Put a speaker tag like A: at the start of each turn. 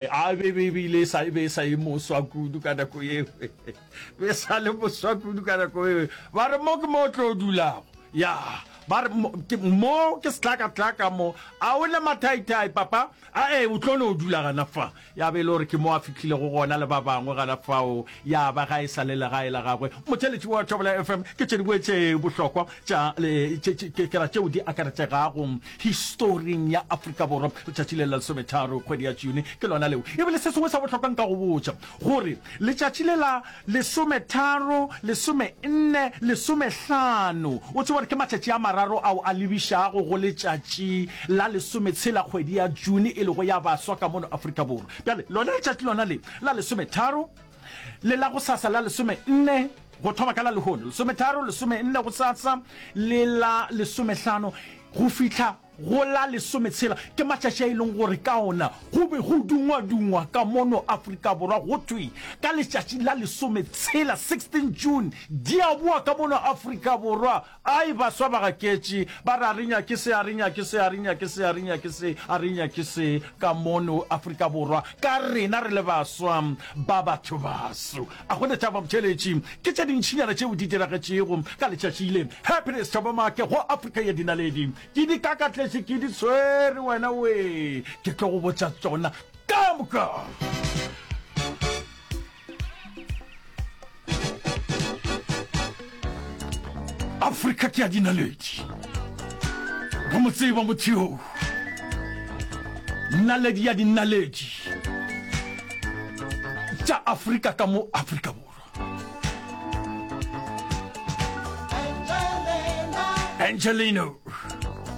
A: A be be bile sa be sa e moswa kudu ka nako yeo. Be sa le moswa kudu ka nako yeo. Ba re mo ke mo tlo dulago. Ya, ba re mo ke setlakatlaka mo. A o ne mathaithai papa? A e o tlo no dula gana fa. Ya be e le gore ke mo a fihlilego gona le ba bangwe gana fao. Ya ba ga e sa le legae la gagwe. Motheeletši wa Thobela FM ke tše dingwe tše bohlokwa tša ke ra tšeo di akaretšegago historing ya Afrika Borwa. Letšatši le la lesometharo kgwedi ya June ke lona leo. Ebile se sengwe sa bohlokwa nka go botša gore letšatši le la lesometharo, lesomenne, lesomehlano, o tseba gore ke matšatši a mararo ao a lebišago go letšatši la lesometshela kgwedi ya June e lego ya baswa ka mono Afrika Borwa. Bjale lona letšatši lona le la lesometharo le la gosasa la lesomenne, go thoma ka la lehono, lesometharo, lesomenne gosasa le la lesomehlano go fihla go la lesometshela, ke matšatši a e leng gore ka ona go be go dungwadungwa ka mono Afrika Borwa go thwe ka letšatši la lesometshela, 16 June, di a boa ka mono Afrika Borwa. Ai, baswa ba gaketše, ba re a re nyake se, a re nyake se, a re nyake se, a re nyake se, a re nyake se ka mono Afrika Borwa, ka rena re le baswa ba bathobaso. A go ne taba botheeletši, ke tše dintšinyana tšeo di diragetšego ka letšatši le. Happiness Thabo Make go Afrika ya Dinaledi. Ke di kakatletše, ke di tshwere wena wee, ke tlo go botša tšona ka moka. Afrika ke ya dinaledi. Re mo tseba motho yoo. Naledi ya dinaledi tša Afrika ka mo Afrika Borwa. Angelino.